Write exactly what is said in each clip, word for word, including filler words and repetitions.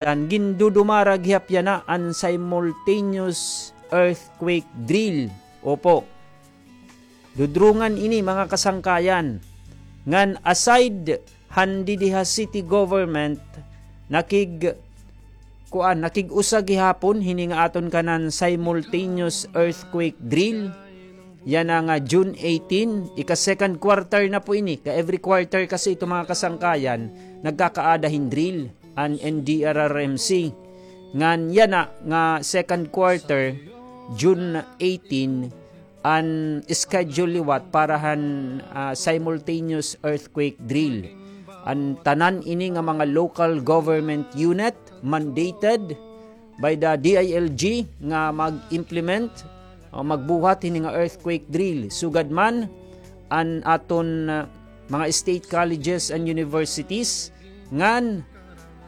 Yan, gindudumara gihap yana an simultaneous earthquake drill. Opo. Dudrungan ini, mga kasangkayan. Ngan aside han didi ha city government, nakig-, kuan, nakig-usa gihapon hini nga aton kanan simultaneous earthquake drill. Yana nga June eighteen, ika-second quarter na po ini. Ka every quarter kasi ito, mga kasangkayan, nagkakaada hin drill an N D R R M C. Ngan yana nga second quarter, June eighteen, an schedule liwat para han, ah, simultaneous earthquake drill. An tanan ini nga mga local government unit mandated by the D I L G nga mag-implement o magbuhat hini nga earthquake drill. Sugad man an aton, ah, mga state colleges and universities, ngan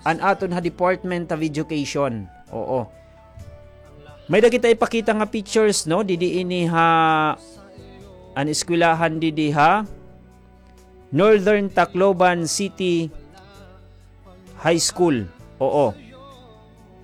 an aton ha Department of Education. Oo. May-ada kita ipakita nga pictures, no? Didi ini ha, an eskwelahan didi ha Northern Tacloban City High School. Oo.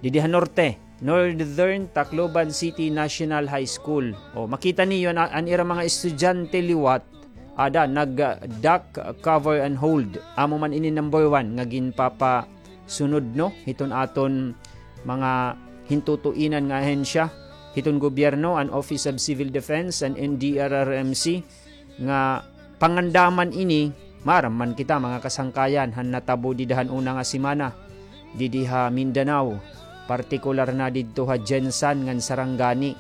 Didi ha norte, Northern Tacloban City National High School. O, makita niyo na an ira mga estudyante liwat, ada, nag, ah, duck, ah, cover and hold. Amo man ini number one nga ginpapasunod, no, hiton aton mga hintutuinan nga ahensya hiton gobyerno, an Office of Civil Defense, an N D R R M C, nga pangandaman ini. Maaram man kita, mga kasangkayan, han natabo dida han una nga semana didi ha Mindanao, partikular na didto ha Gensan ngan Sarangani,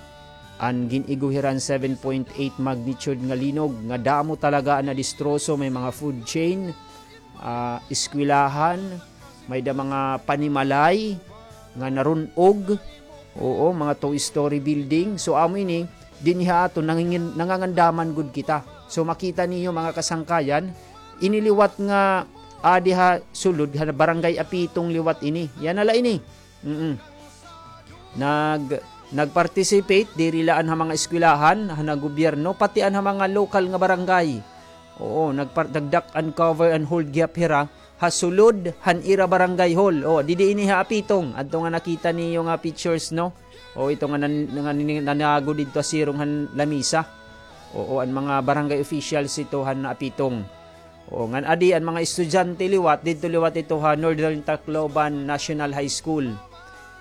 an gin-igo hira han seven point eight magnitude nga linog, nga damo talaga an nadistroso. May mga food chain, ah, eskwelahan, may-ada mga panimalay nga narun-og. Oo, mga two-story building. So, amo ini, dinhi ha aton, nangingin-, nangangandaman gud kita. So, makita niyo, mga kasangkayan, ini liwat nga adi ha sulod, ha Barangay Apitong liwat ini. Yana la ini. Mm-mm. Nag-, nag-participate, diri la an ha mga eskwelahan, han gobyerno, pati an ha mga lokal nga barangay. Oo, nagpar-, nag-duck and cover and hold gihap hira ha sulod han ira barangay hall. O, didi ini ha Apitong. Adto nga nakita niyo nga pictures, no? O, ito nga nan-, nga nin-, nanago didto ha sirong han lamisa. Oo, an mga barangay officials ito han Apitong. Oo, ngan adi an mga estudyante liwat, didto liwat ito ha Northern Tacloban National High School.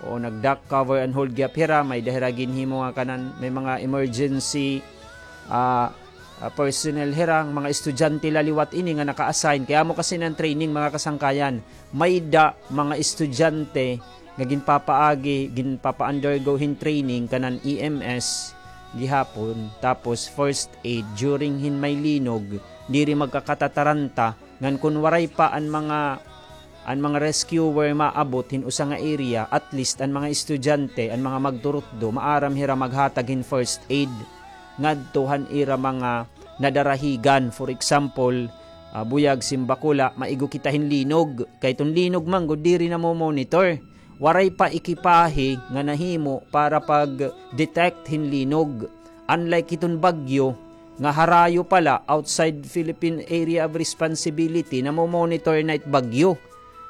Oo, nag-duck, cover and hold gihap hira, may-ada hira ginhimo nga kanan, may mga emergency, ah, ah, personnel hira, mga estudyante la liwat ini nga naka-assign. Kay amo kasi ini an training, mga kasangkayan. May-ada mga estudyante nga ginpapaagi, ginpapa-undergo hin training kanan E M S gihapon, tapos first aid during hin may linog, diri magkakatataranta, ngan kon waray pa an mga, an mga rescuer maabot hin usa nga area, at least an mga estudyante, an mga magturutdo, maaram hira maghatag hin first aid ngadto han ira mga nadarahigan. For example, ah, buyag, simbakula, maigo kita hin linog. Kay iton linog man gud diri namo-monitor. Waray pa ekipahe nga nahimo para pag-detect hin linog. Unlike hiton bagyo, nga harayo pa la, outside Philippine Area of Responsibility, namo-monitor na it bagyo.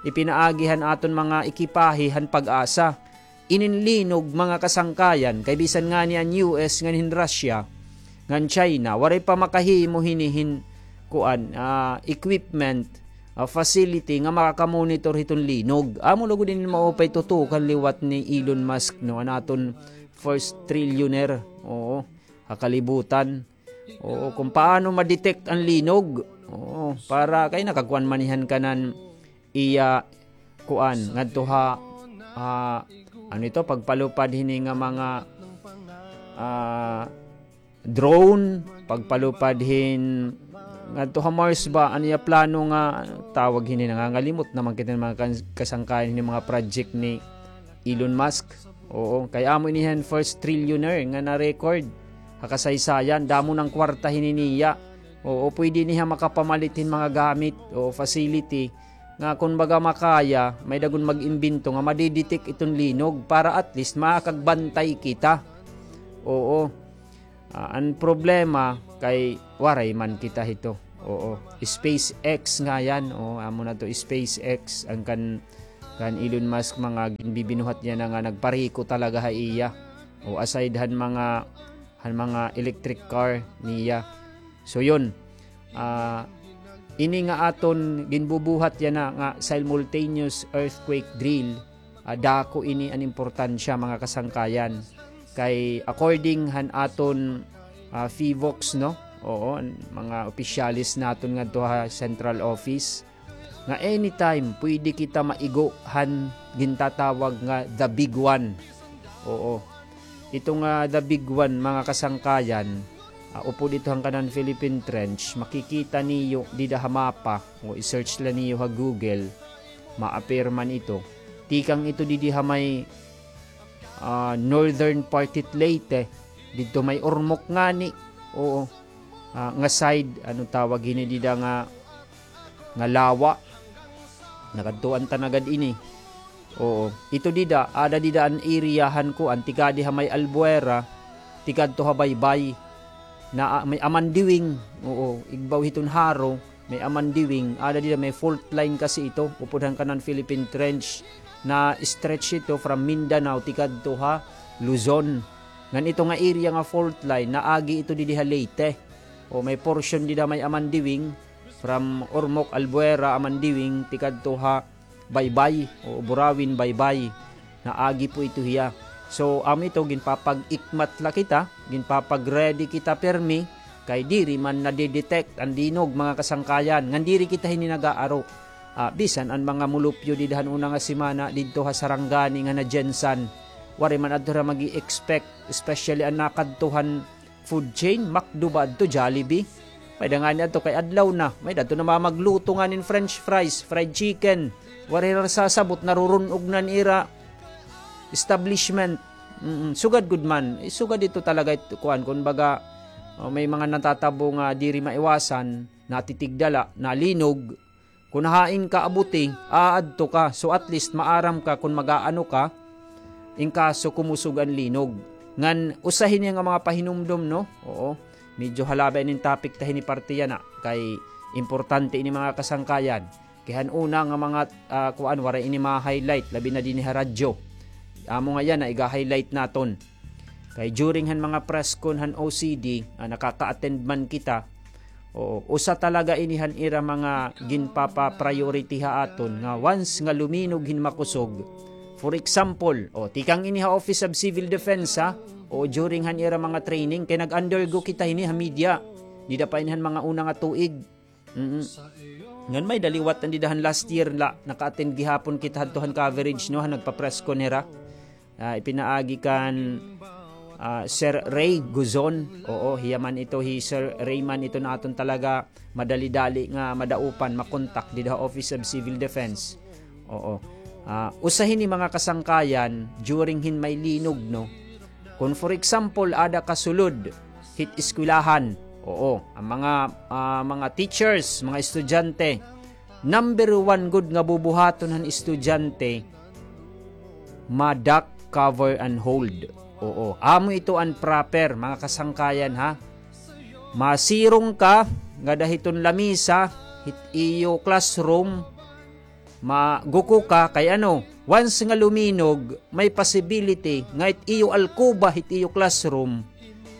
Ipinaagi han aton mga ekipahe han PAGASA. Inin linog, mga kasangkayan, kay bisan ngani an U S ngan hin Russia, ngan China, waray pa makahimo hini hin, kuan, ah, equipment, ah, facility nga makaka-monitor hiton linog. Amo la gud ini maupay tutukan liwat ni Elon Musk, no, an aton first trillionaire, oo, ha kalibutan. Oo, kung paano ma-detect an linog. Oo, para kay nakagkuan man hiya han kanan iya kuan ngadto ha, ah, ano ito, pagpalupad hini nga mga, ah, drone, pagpalupad hin ngadto ha Mars ba, an iya plano nga, tawag hini, nangangalimot na man kita mga kan-, kasangkayan hini mga project ni Elon Musk. Oo, kay amo ini han first trillionaire nga na-record ha kasaysayan, damo na an kwarta hini niya. Oo, pwede niya makapamalit hin mga gamit o facility nga kun baga makaya, may-ada gud mag-imbento nga madi-detect iton linog para at least makakagbantay kita. Oo. Ah, an problema kay waray man kita hito. Oo. SpaceX nga yan. Oo, amo na to, SpaceX, an kan kan Elon Musk, mga ginbibinuhat niya na nga nagpariko talaga ha iya. O aside han mga, han mga electric car niya. So yun, ah, ini nga aton ginbubuhat yana nga simultaneous earthquake drill, ah, dako ini an importansya, mga kasangkayan. Kay according han aton, ah, PHIVOLCS, no? Oo, an mga opisyales naton ngadto ha central office, nga anytime pwede kita maigo han gintatawag nga the big one. Oo. Ito nga the big one, mga kasangkayan, ah, upod ito han kanan Philippine Trench, makikita niyo dida ha mapa, o i-search la niyo ha Google, ma-appear man ito. Tikang ito didi ha may, ah, northern part hit Leyte, didto may Ormoc ngani. Oo. Ah, nga side, ano tawag hini dida nga, nga lawa. Nakadtuan ta na gad ini. Oo. Ito dida, ada dida an area han kuan, tikadi ha may Albuera, tikadto ha Baybay. Na, ah, may Amandiwing. Oo, igbaw hiton Jaro, may Amandiwing. Ada dida may fault line kasi ito, upod han kanan Philippine Trench. Na-stretch ito from Mindanao, tikadto ha Luzon. Ngan ito nga area nga fault line, naagi ito didi ha Leyte. O may portion dida may Amandiwing, from Ormoc, Albuera, Amandiwing, tikadto ha Baybay, o Burawin, Baybay. Naagi po ito hiya. So, amo ito, ginpapag-ikmat la kita, ginpapag-ready kita permi, kay diri man nade-detect an linog, mga kasangkayan, ngan diri kita hini nag-aaro. Ah, bisan an mga mulupyo dida han una nga semana didto ha Sarangani ngan ha GenSan, waray man adto hira mag-i-expect, especially an nakadto han food chain, McDo ba adto, Jollibee. May-ada ngani adto kay adlaw na. May-ada adto namamagluto nganin French fries, fried chicken. Waray hira sasabot, narurun-og na an ira establishment. Mm, sugad gud man. Eh, sugad ito talaga it-, kuan, kumbaga, oh, may mga natatabo nga diri maiwasan, natitigda la, nalinog. Kun hain ka abuti, aadto ka. So, at least, maaram ka kun mag-aano ka, in kaso kumusog an linog. Ngan, usa hini nga mga pahinumdom, no? Oo. Medyo halaba ini topic ta hini parte yana. Kay importante ini, mga kasangkayan. Kay han una nga mga, ah, kuan, waray ini ma-highlight, labi na dinhi ha radyo. Amo nga yana, iga-highlight naton. Kay during han mga press con han O C D, ah, nakaka-attend man kita, oo, usa talaga ini han ira mga ginpapa-priority ha aton nga once nga luminog hin makusog. For example, o, tikang ini ha Office of Civil Defense, ha? O, during han ira mga training, kay nag-undergo kita hini ha media. Dida pa ini han mga una nga tuig. Mm. Ngan may-ada liwat an dida han last year la, naka-attend gihapon kita hadto han coverage, no, han nagpa-press con hira. Ah, ipinaagi kan, ah, Sir Ray Guzon. Oo, hiya man ito, hi Sir Ray man ito na aton talaga madali-dali nga madaupan, makontak dida ha Office of Civil Defense. Oo. Ah, usa hini mga kasangkayan, during hin may linog, no? Kun for example, ada ka sulod hit eskwelahan, oo, an mga, ah, mga teachers, mga estudyante, number one gud nga bubuhaton han estudyante, ma-duck, cover, and hold. Oo, amo ito an proper, mga kasangkayan, ha? Masirong ka ngada hiton lamisa hit iyo classroom, maguko ka, kay ano, once nga luminog, may possibility nga it iyo alkoba, it iyo classroom,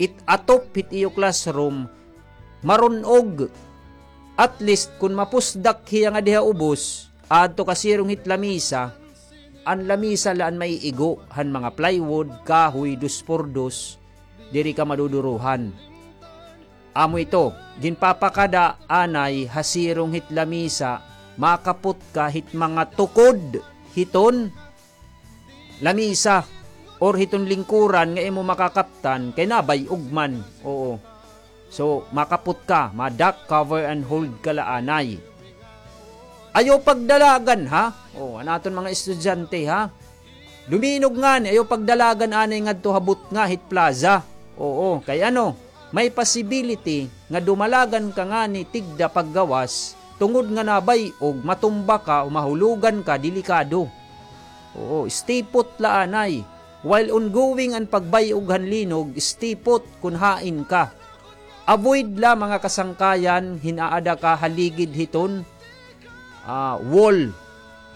it atop hit iyo classroom, marun-og. At least, kun mapusdak hiya ngadi ha ubos, adto ka sirong hit lamisa, an lamisa la an maiigo han mga plywood, kahoy, dos por dos, diri ka madudurohan. Amo ito, ginpapakada anay ha sirong hit lamisa, makapot ka hit mga tukod hiton lamisa or hiton lingkuran nga imo makakaptan kay nabay-og man. Oo. So, makapot ka, ma-duck, cover, and hold ka la anay. Ayaw pagdalagan, ha? O, an aton mga estudyante, ha? Luminog ngani, ayaw pagdalagan anay ngadto ha butnga hit plaza. Oo, kay ano, may possibility nga dumalagan ka ngani tigda paggawas, tungod nga nabay-og, matumba ka o mahulogan ka, delikado. Oo, stay put la anay. While ongoing an pagbay-og han linog, stay put kun hain ka. Avoid la, mga kasangkayan, hin aada ka ha ligid hiton, ah, wall,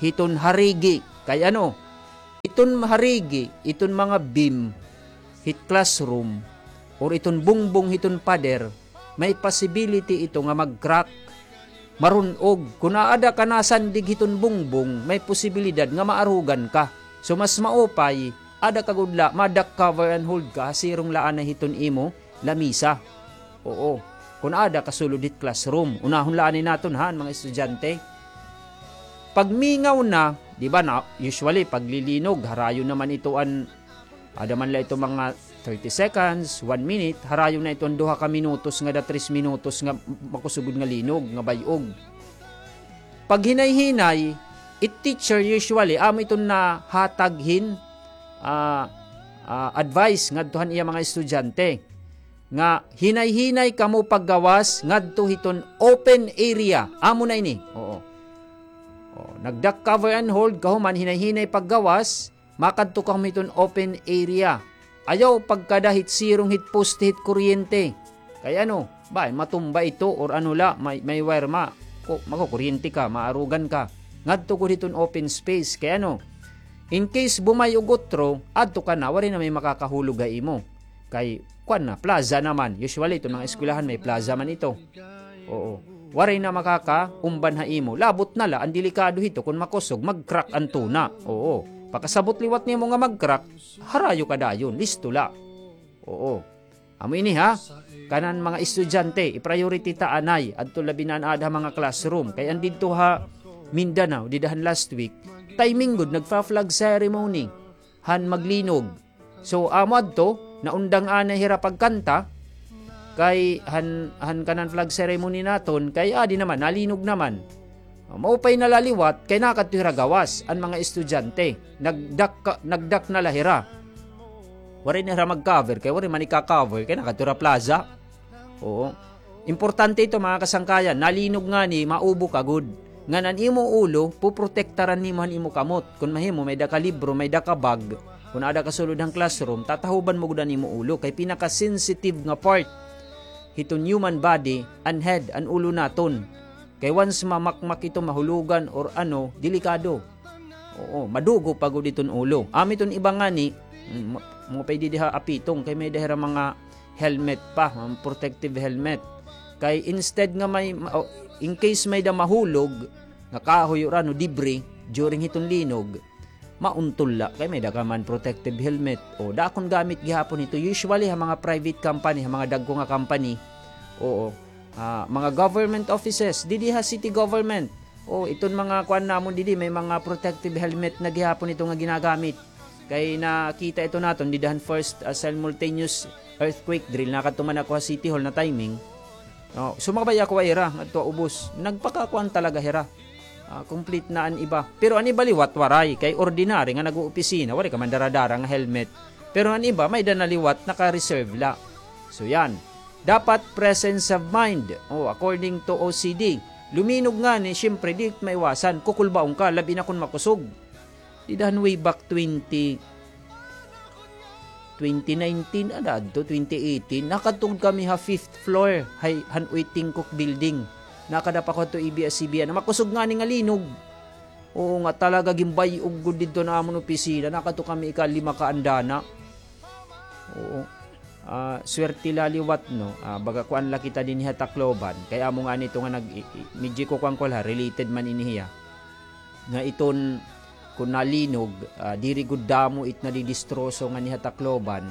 hiton harigi. Kay ano, iton harigi, iton mga beam hit classroom, or iton bungbong hiton pader, may possibility ito nga mag-crack, marun-og. Kon aada ka nasandig hiton bungbong, may posibilidad nga maarugan ka. So, mas maupay, ada ka gud la, ma-duck cover and hold ka, ha sirong la anay hiton imo lamisa. Oo. Kon aada ka sulod hit classroom, unahon la anay naton, ha, an mga estudyante. Pagmingaw na, di ba na, usually, paglilinog, harayo naman ito an, ada man la ito mga thirty seconds, one minute, harayo na ito an duha ka minutos nga da tres minutos nga makusog gud nga linog, nga bay-og. Paghinay-hinay, it teacher usually, amo iton nahatag hin, ah, ah, advice ngadto han iya mga estudyante nga hinay-hinay kamo paggawas ngadto hiton open area. Amo na ini. Oo. Oh, nag-duck cover and hold, kahuman hinay-hinay paggawas, makadto kamo hiton open area. Ayaw pagkada hit sirong hit poste hit kuryente. Kay ano, bay, matumba ito or ano la, may, may wire ma, ko, makukuryente ka, maarugan ka. Ngadto gud hiton open space. Kay ano, in case bumay-og utro, adto ka na, waray na may makakahulog ha imo. Kay, kuan na, plaza naman. Usually, iton mga eskwelahan, may plaza man ito. Oo. Waray na makakaumban ha imo. Labot na la, an delikado hito, kon makusog, mag-crack an tuna. Oo. Pagkasabot liwat nimo nga mag-crack, harayo ka dayon, listo la. Oo. Amo ini, ha? Kanan mga estudyante, i-priority ta anay, adto labi na an aada ha mga classroom. Kay an didto ha Mindanao, dida han last week, timing gud, nagfa-flag ceremony han maglinog. So, amo adto, naundang anay hira pagkanta, kay han, han kanan flag ceremony naton, kay adi naman, nalinog naman. Maupay na la liwat, kay nakadto hira gawas, an mga estudyante. Nagdak-, nagdak na la hira. Waray na hira mag-cover, kay waray man ika-cover, kay nakadto hira plaza. Oo. Importante ito, mga kasangkayan. Nalinog ngani, maubo ka gud. Ngan an imo ulo, puprotektaran nimo han imo kamot. Kon mahimo, may-ada ka libro, may-ada ka bag. Kon aada ka sulod han classroom, tatahuban mo gud an imo ulo. Kay pinaka-sensitive nga part hiton human body, an head, an ulo naton. Kay once mamakmak ito, mahulogan, or ano, delikado. Oo, madugo pa gud iton ulo. Amo iton iba ngani, mm, ma-, mga pwede diha apitong, kay may-ada hira mga helmet pa, mga protective helmet. Kay instead nga may, ma-, o, in case may-ada mahulog, nga kahoy or ano, debris, during hiton linog, mauntol la, kay may-ada ka man protective helmet. O, dakon gamit gihapon ito. Usually, ha mga private company, ha mga dagko nga company, oo, ah, mga government offices, didi ha city government, o, iton mga kuan namon didi, may mga protective helmet na gihapon ito nga ginagamit. Kay nakita ito naton dida han first, ah, simultaneous earthquake drill. Nakadto man ako ha City Hall na timing. O, sumabay ako ha ira, ngadto ha ubos. Nagpakakuan talaga hira. Ah, complete na an iba. Pero an iba liwat, waray. Kay ordinary nga nag-oopisina, waray ka man dara-dara nga helmet. Pero an iba, may-ada na liwat, naka-reserve la. So, yan. Dapat presence of mind. O, according to O C D. Luminog ngani, siyempre, di maiwasan. Kukulbaon ka, labi na kon makusog. Dida han way back twenty, twenty nineteen, ada adto, twenty eighteen, nakadto kami ha fifth floor, hay, han Uy Tingkok Building. Nakadapa ko adto A B S C B N. Makusog ngani nga linog. Oo nga, talaga, ginbay-og gud didto an amon opisina. Nakadto kami ikalima ka andana. Oo. Ah, swerte la liwat, no? Ah, baga kuan la kita dinhi ha Tacloban. Kay amo ngani ito nga nag-, i-, i-, medyo kukuan ko la, related man ini hiya. Nga iton, kon nalinog, ah, diri gud damo it nadidistroso nganhi ha Tacloban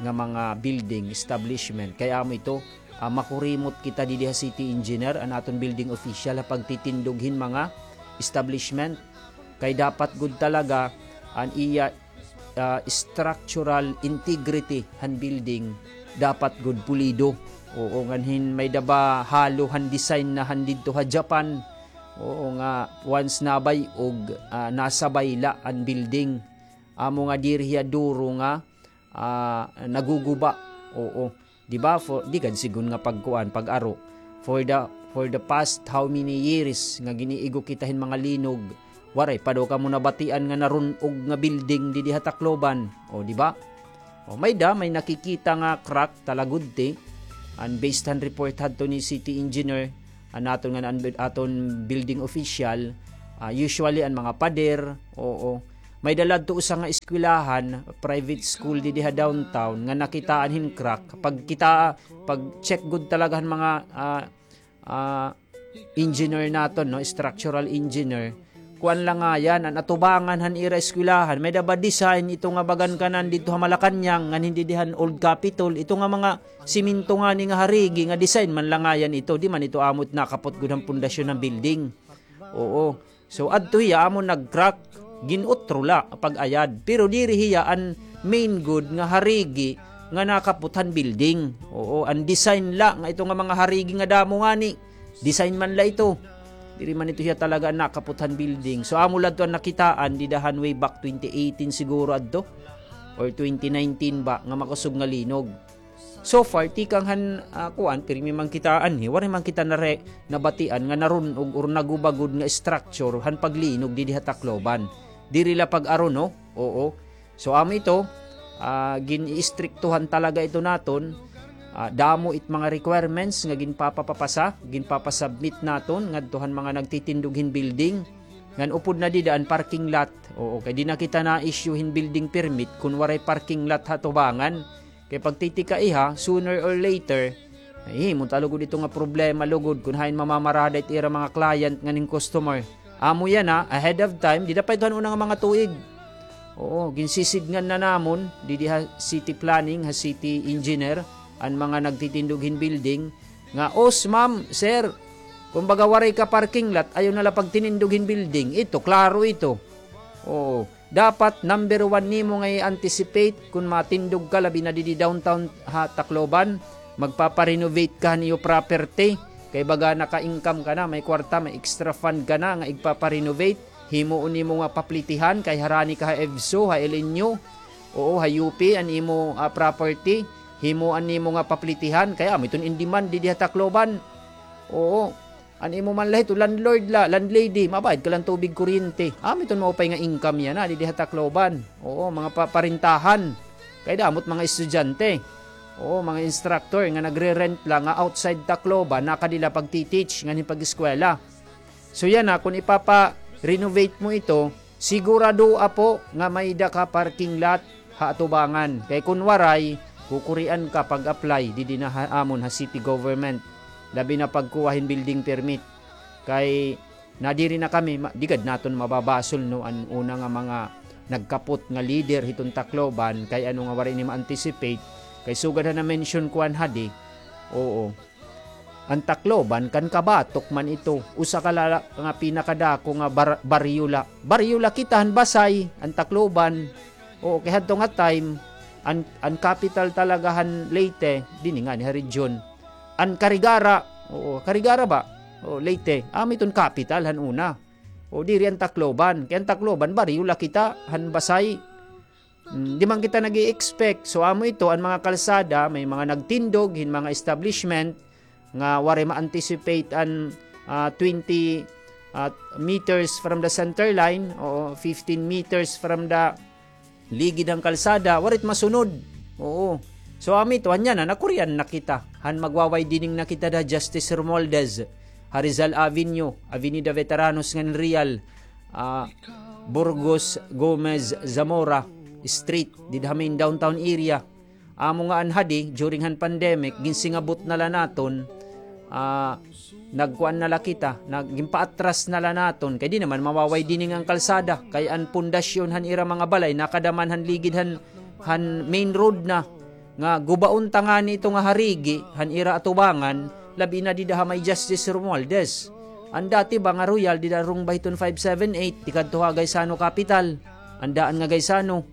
nga mga building, establishment. Kay amo ito, ah, makurimot kita didi ha city engineer, an aton building official ha pagtitindog hin mga establishment. Kay dapat gud talaga an iya ah, structural integrity han building dapat gud pulido. Oo, ngan hin may-ada ba halo han design na han didto ha Japan. Oo, nga once nabay-og, ah, nasabay la an building. Amo nga diri hiya duro nga, ah, naguguba. Oo. Di ba? For, di gad sigon nga pagkuan, pag-aro. For the, for the past how many years nga giniigo kita hin mga linog, waray pa daw kamo nabatian nga narun-og nga building didi ha Tacloban. O, di ba? O, may-ada, may nakikita nga crack, talagudti. An based han report hadto ni city engineer, an aton nga, an aton building official, ah, usually an mga pader, oo, May-ada la adto usa nga eskwelahan, private school didi ha downtown, nga nakitaan hin crack. Pagkita, pag-check gud talaga han mga, ah, ah, engineer naton, no, structural engineer, kuan la ngay-an, an atubangan han ira eskwelahan, may-ada ba design ito nga bagan kanan didto ha Malacañang, ngan hin didi han Old Capitol, ito nga mga siminto ngani nga harigi nga design man la ngay-an ito, di man ito amo it nakapot gud han pundasyon han building. Oo. So, adto hiya, amo nag-crack, gin-utro la pag-ayad. Pero diri hiya an main gud nga harigi nga nakapot han building. Oo, an design la nga ito nga mga harigi nga damo ngani, design man la ito. Diri man ito hiya talaga an nakapot han building. So, amo la adto an nakitaan dida han way back twenty eighteen siguro adto, or twenty nineteen ba, nga makusog nga linog. So far, tikang han, ah, kuan, pirmi man kita anhi, waray man kita nare-, nabatian nga narun-og or naguba gud nga structure han paglinog didi ha Tacloban. Diri la pag-aruno, oo. So, amo ito, ah, gin-iistriktuhan talaga ito naton. Ah, damo it mga requirements nga ginpapapapasa, ginpapasubmit naton ngadto han mga nagtitindog hin building. Ngan upod na dida an parking lot. Oo, kay di na kita na-issue hin building permit kun waray parking lot ha atubangan. Kay pagtitikaiha, sooner or later, mahihimo ta lugod ito nga problema lugod kun hain mamamarada it ira mga client ngan hin customer. Amo yana, ahead of time, dida pa ito han una nga mga tuig. Oo, ginsisidngan na namon, didi ha city planning, ha city engineer, an mga nagtitindog hin building, nga, "Os, ma'am, sir, kumbaga waray ka parking lot, ayaw na la pagtinindog hin building." Ito, klaro ito. Oo. Dapat number one nimo nga i-anticipate kun matindog ka, labi na didi downtown ha Tacloban, magpapa-renovate ka han iyo property, kay baga naka-income ka na, may kwarta, may extra fund ka na nga igpapa-renovate, himuon nimo nga paplitihan, kay harani ka ha EVSU, ha L N U, oo, ha U P, an imo, ah, property, himuan nimo nga paplitihan, kay amo iton in demand didi ha Tacloban. Oo. An imo man la hito, landlord la, landlady, mabayad ka la han tubig, kuryente. Amo iton maupay nga income yana, didi ha Tacloban. Oo, mga pa-, parintahan. Kay damo it mga estudyante. Oo, mga instructor nga nagre-rent la nga outside Tacloban, nakadi la pagti-teach, ngan hin pag-eskwela. So yana, kun ipapa-renovate mo ito, siguradoa po nga may-ada ka parking lot ha atubangan. Kay kun waray, kukurian ka pag-apply didi na ha amon ha city government. Labi na pagkuha hin building permit. Kay nadiri na kami, ma-, di gad naton mababasol, no, an una nga mga nagkapot nga leader hiton Tacloban, kay ano nga waray ini ma-anticipate. Kay sugad han na-mention ko an hadi, oo. An Tacloban, kan kabatok man ito. Usa ka la-, nga pinakadako nga bar-, baryo la. Baryo la kita han Basay, an Tacloban. Oo, kay hadto nga time, an, an capital talaga han Leyte, dinhi ngani ha region. An Carigara, oo, Carigara ba? Oo, Leyte. Amo iton capital han una. O, diri an Tacloban. Kay an Tacloban, baryo la kita han Basay. Mm, di man kita nag-i-expect. So, amo ito, an mga kalsada, may mga nagtindog hin mga establishment nga waray ma-anticipate an, ah, twenty, ah, meters from the center line, o fifteen meters from the ligid han kalsada, waray it masunod. Oo. So, amo ito, han yana, nakurian na kita. Han magwa-widening na kita da Justice Romualdez, ha Rizal Avenue, Avenida Veteranos ngan Real, ah, Burgos Gomez Zamora Street, dida ha main downtown area. Amo nga an hadi, during han pandemic, ginsingabot na la naton, ah, nagkuan na la kita, nag-, ginpaatras na la naton, kay di naman mawa-widening an kalsada, kay an pundasyon han ira mga balay, nakadaman han ligid han, han main road na, nga gubaon ta ngani ito nga harigi, han ira atubangan, labi na dida ha may Justice Romualdez. An dati ba nga Royal, dida rong ba hiton five seven eight, tikadto ha Gaisano Capital, an daan nga Gaisano.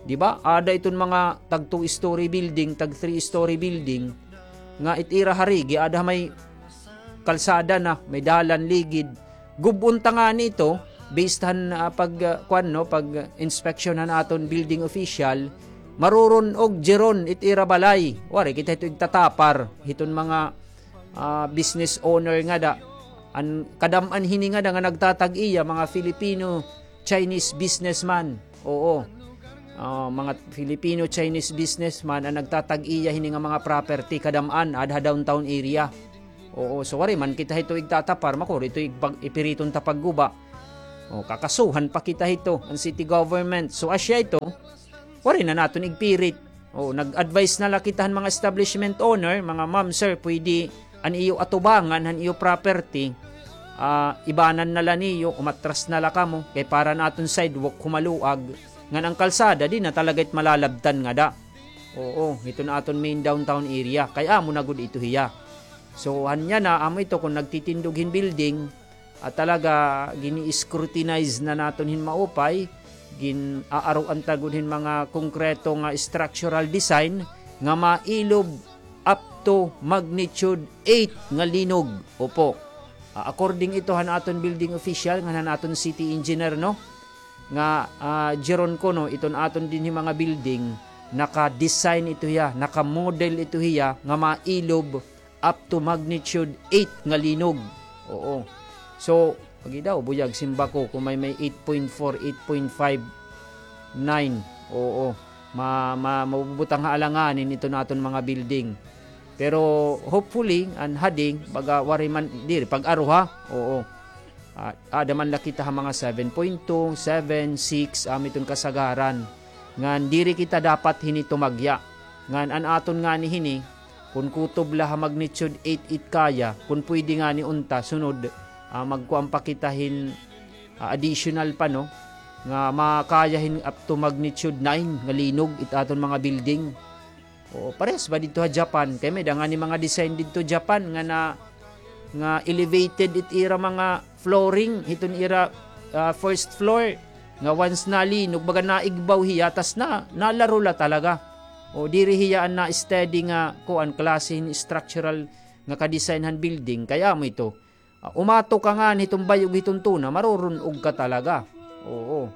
Di ba? Ada iton mga tag two-story building, tag three-story building, nga it ira harigi, ada may kalsada na, may dalan, ligid. Gub-on ta ngani ito, based han, ah, pag, ah, kuan, no, pag, ah, inspection han aton building official, marurun-og jeron it ira balay. Waray kita hito igtatapar, hiton mga, ah, business owner ngada. An kadam-an hini ngada nga nagtatag-iya, mga Filipino, Chinese businessman. Oo. Ah, mga Filipino, Chinese businessman an nagtatag-iya hini nga mga property, kadam-an, ada ha downtown area. Oo, so waray man kita hito igtatapar, makuri ito igpag-, ipiriton ta pagguba. O, kakasuhan pa kita hito, an city government. So, asya ito, waray na naton igpirit. O, nag-advise na la kita han mga establishment owner, mga ma'am, sir, pwede an iyo atubangan, han iyo property, ah, ibanan na la niyo, umatras na la kamo, kay para an aton sidewalk humaluag, ngan an kalsada, di na talaga it malalabtan ngada. Oo, ito na aton main downtown area. Kay amo na gud ito hiya. So, hanya na, amo ito kung nagtitindog hin building, at talaga, gini-scrutinize na naton hin maupay, gin-aaruan ta gud hin mga konkreto nga structural design nga mailob up to magnitude eight nga linog. Opo. Ah, according ito han aton building official, ngan han aton city engineer, no? Nga, ah, Jeron kuno, iton aton dinhi mga building, naka-design ito hiya, naka-model ito hiya, nga mailob up to magnitude eight nga linog. Oo. So, agi daw, buyag, simba ko, kung may, may eight point four, eight point five, nine. Oo. Ma, ma, mabubutang ha alanganin ito naton mga building. Pero, hopefully, an hading, baga, waray man, diri, pag-aro ha. Oo. Ah, ada man la kita ha mga seven point two, seven, six, amo iton kasagaran. Ngan diri kita dapat hini tumagya. Ngan an aton ngani hini, kun kutob la ha magnitude eight it kaya, kun pwede ngani unta, sunod, ah, magkuan pa kita hin, ah, additional pa, no? Nga makaya hin up to magnitude nine nga linog it aton mga building. Oo, parehas ba didto ha Japan? Kay may-ada ngani mga design didto Japan nga na, nga elevated it ira mga flooring, hiton ira, ah, first floor, nga once nalinog, baga naigbaw hiya, tas na, nalaro la talaga. O, diri hiya an na-steady nga, kuan, klase hin structural nga ka-design han building, kay amo ito. Ah, umato ka ngani hiton bay-og hiton tuna, marurun-og ka talaga. Oo.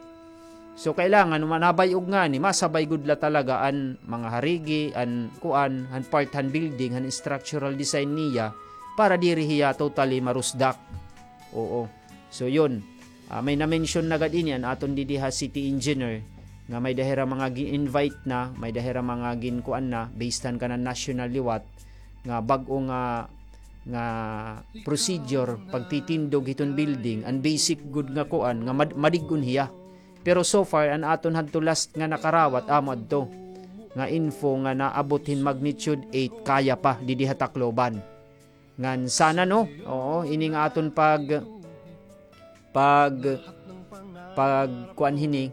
So, kailangan, uma-, nabay-og ngani, masabay gud la talaga an mga harigi, an kuan, han part han building, han structural design niya, para diri hiya totally marusdak. Oo. So, yun. Ah, may na-mention na gad ini an aton didi ha city engineer, nga may-ada hira mga gin-invite na, may-ada hira mga ginkuan na, based han kanan national liwat, nga bag-o nga nga procedure, pagtitindog hiton building, an basic gud nga kuan, nga mad-, madig-on hiya. Pero so far, an aton hadto last nga nakarawat, amo adto, nga info nga naabot hin magnitude eight, kaya pa, didi ha Tacloban. Ngan sana, no? Oo, ini nga aton pag, pag, pag, kuan hini,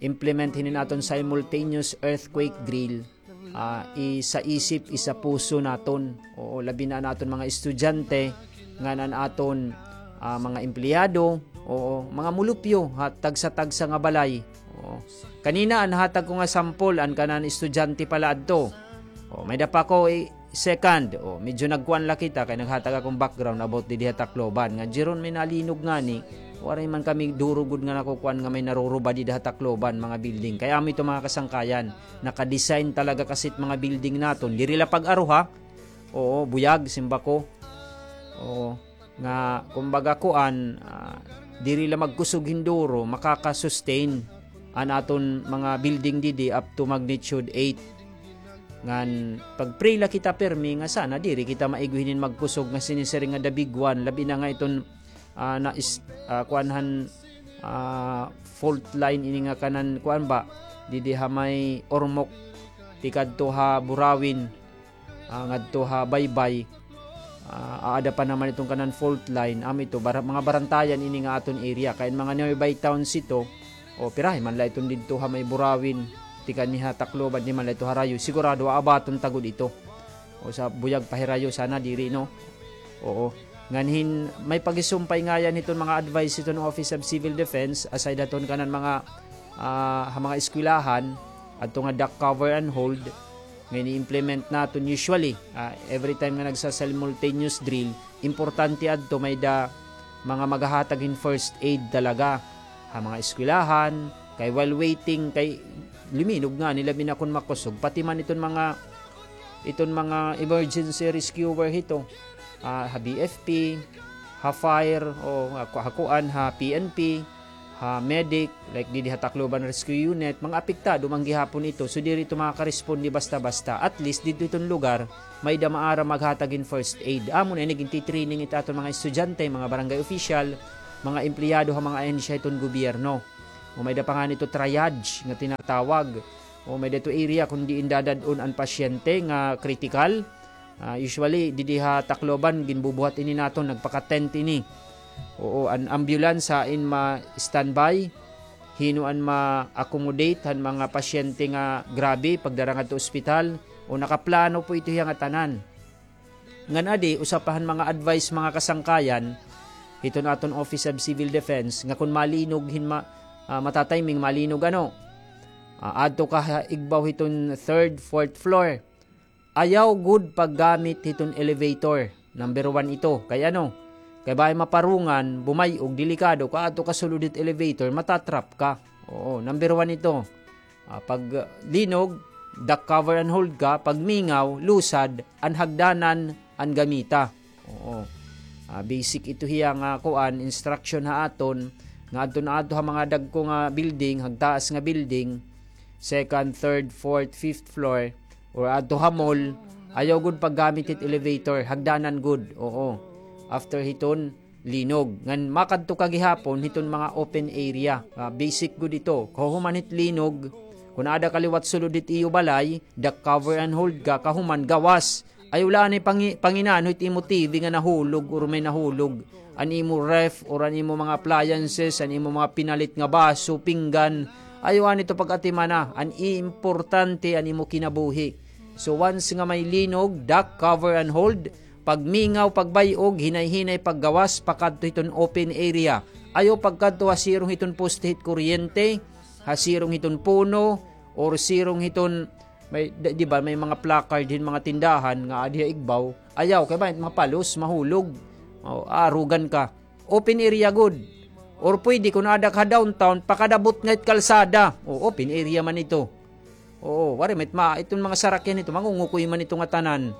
implement hinin aton simultaneous earthquake drill, ah, isaisip, isapuso naton. Oo, labi na an aton mga estudyante, ngan an aton, ah, mga empleyado, oo, mga mulupyo, ha, tagsa-tagsa nga balay. Oo. Kanina, an hatag ko nga sample, an kanan estudyante pala adto. Oo, may-ada pa ko, eh, Second, o, medyo nagkuan la kita kay naghatag akon background about didi ha Tacloban. Nga, Jeron, may nalinog ngani, waray man kami duro gud nga nakukuan nga may naruruba didi ha Tacloban, mga building. Kay amo ito, mga kasangkayan, naka-design talaga kasi it mga building naton. Diri la pag-aro, ha? Oo, buyag, simba ko. Oo. Nga, kumbaga, kuan, ah, diri la magkusog hin duro, makaka-sustain an aton mga building didi up to magnitude eight. Ngan, pag-pray la kita pirmi nga sana diri kita maig-o hinin magkusog nga sinisiring nga the big one, labi na nga iton, ah, na is-, ah, kuan han, ah, fault line ini nga kanan, kuan ba, didi ha may Ormoc, tikadto ha Burauen. Ah, ngadto ha Baybay, ah, aada pa naman iton kanan fault line. Amo ito, bara-, mga barantayan ini nga aton area. Kay an mga nearby towns ito, o, pirahi man la iton didto ha may Burauen, tikang ha Tacloban, di man la ito harayo. Sigurado, aabaton ta gud ito. O, sa buyag pa hirayo, sana diri, no? Oo. Ngan hin, may pagisumpay ngayan hiton mga advice hiton Office of Civil Defense, aside haton kanan mga, ah, ha mga eskwelahan, adto nga duck cover and hold, nga ini-implement naton usually, ah, every time nga nagsa-simultaneous drill, importante adto may-ada mga maghahatag hin first aid talaga ha mga eskwelahan, kay while waiting, kay luminog ngani, labi na kon makusog, pati man iton mga, iton mga emergency rescuer hito, ah, ha B F P, ha fire, o ha ku-, ha kuan, ha P N P, ha medic, like didi ha Tacloban Rescue Unit, mga apektado man gihapon ito. So, diri ito makakaresponde basta-basta. At least, didto iton lugar, may-ada maaram maghatag hin first aid. Amo na ini, gintitraining it aton mga estudyante, mga barangay official, mga empleyado ha mga ahensya hiton gobyerno. O may da pa ngani ito triage nga tinatawag. O may da ito area kon diin dadad-on an pasyente nga critical. Ah, usually, didi ha Tacloban, ginbubuhat ini naton, nagpaka-tent ini. Oo, an ambulance hain ma-standby, hin-o an ma-accommodate han mga pasyente nga grabe, pagdara ngadto ospital, o nakaplano po ito hiya nga tanan. Ngan adi, usa pa han mga advice, mga kasangkayan, hiton aton Office of Civil Defense, nga kon malinog hin ma-, ah, matatiming malinog, ano, ah, adto ka ha igbaw hiton third, fourth floor. Ayaw gud paggamit hiton elevator. Number one ito. Kay ano? Kay bangin maparungan, bumay-og, delikado, kaadto ka sulod hit elevator, matatrap ka. Oo, number one ito. Ah, pag, ah, linog, duck cover and hold ka, pag mingaw, lusad, an hagdanan, an gamita. Oo. Ah, basic ito hiya nga kuan, instruction ha aton, nga adto na adto ha mga dagko nga building, hagtaas nga building, second, third, fourth, fifth floor, or adto ha mall, ayaw gud paggamit hit elevator, hagdanan gud. Oo. After hiton, linog. Ngan makadto ka gihapon hiton mga open area. Ah, basic gud ito. Kahuman hit linog, kon ada ka liwat sulod hit iyo balay, duck cover and hold ka, kahuman gawas. Ayaw la anay pangi-, panginano hit imo T V nga nahulog or may nahulog. An imo ref or an imo mga appliances, an imo mga pinalit nga baso, pinggan. Ayaw anay ito pag-atimana. An importante an imo kinabuhi. So once nga may linog, duck cover and hold, pagmingaw, pagbay-og, hinay-hinay paggawas, pakadto hiton open area. Ayaw pagkadto ha sirong hiton poste hit kuryente, ha sirong hiton puno, or sirong hiton, may, di, di ba, may mga placard hin mga tindahan nga adi ha igbaw. Ayaw, kay bangin mapalos, mahulog. O, aarugan ka. Open area gud. Or pwede, kon ada ka ha downtown, pakadabot nga hit kalsada. O, open area man ito. Oo, waray man it ma-, iton mga sarakyan ito, mangungukoy man ito nga tanan.